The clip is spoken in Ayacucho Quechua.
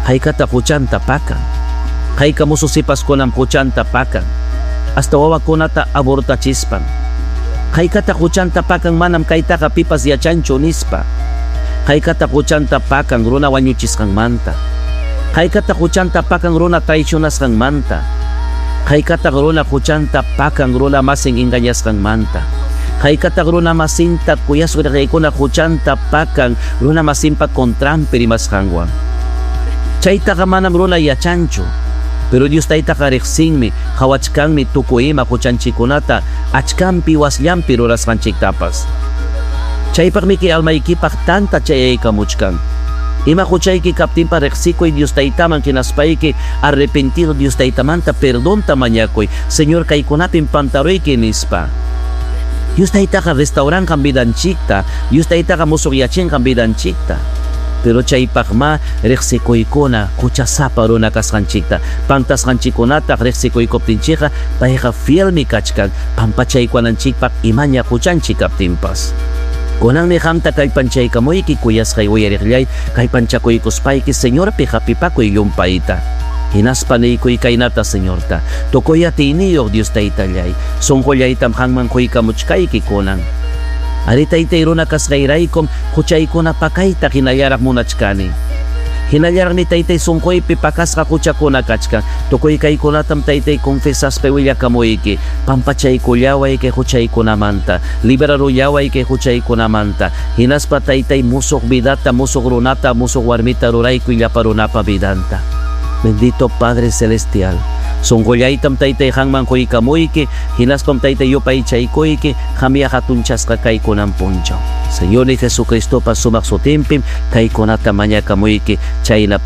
Haykataq huchanta pakan? Hayka musu sipaskunam huchanta pakan? Hasta wawakunata abortachispan. Haykataq huchanta pakan manam kaytaqa pipas yachanchu nispa? Haykataq huchanta pakan runa wañuchisqanmanta? Haykataq huchanta pakan runa traicionasqanmanta? Haykataq runa huchanta pakan runa masin engañasqanmanta? Haykataq runa masinta kuyasqa huchanta pakan runa masinpa contranpi rimasqanwan? Chaytaqa manam runa yachanchu. Pero Dios taytaqa riqsinmi, qawachkanmi tukuy ima huchanchikkunata achkanpi wasllampi rurasqanchiktapas. Chaypaqmi kay almaykipaq tanta chayaykamuchkan. Ima huchayki kaptinpa riqsikuy Dios taytaman hinaspayki arrepentido Dios taytamanta perdonta mañakuy. Señor, kaykunapim pantaruyki nispa. Dios taytaqa restauranqam vidanchikta, Dios taytaqa musuqyachinqam vidanchikta. Pero chaypaqma riqsikuykuna huchasapa runa kasqanchikta, pantasqanchikkunataq riqsikuykuptinchikqa payqa fielmi kachkan pampachaykunanchikpaq imaña huchanchik kaptinpas. Kunanmi qamta kallpanchaykamuyki kuyasqay uyariqllay, kallpanchakuykuspayki Señorpi hapipakuy llumpayta. Hinaspa niykuy kaynata Señorta, tukuy atiyniyuq Dios taytallay, sunqullaytam qanman quykamuchkayki kunan. Ari taytay runa kasqayraykum huchaykuna pakayta hinallaraq munachkani. Hinallaraqmi taytay sunquypi pakasqa huchakuna kachkan. Tukuy kaykunatam taytay confesaspa willakamuyki. Pampachaykullaway kay huchaykunamanta, liberarullaway kay huchaykunamanta. Hinaspa taytay musuq vidata, musuq runata, musuq warmita ruraykuy llapa runapa vidanta. Bendito Padre Celestial. Sunqullaytam taytay qanman quykamuyki, hinaspam taytay yupaychaykuyki, qamya hatunchasqa kaykunan punchaw. Señor Jesucristopa sumaq sutinpim kaykunata mañakamuyki chayna.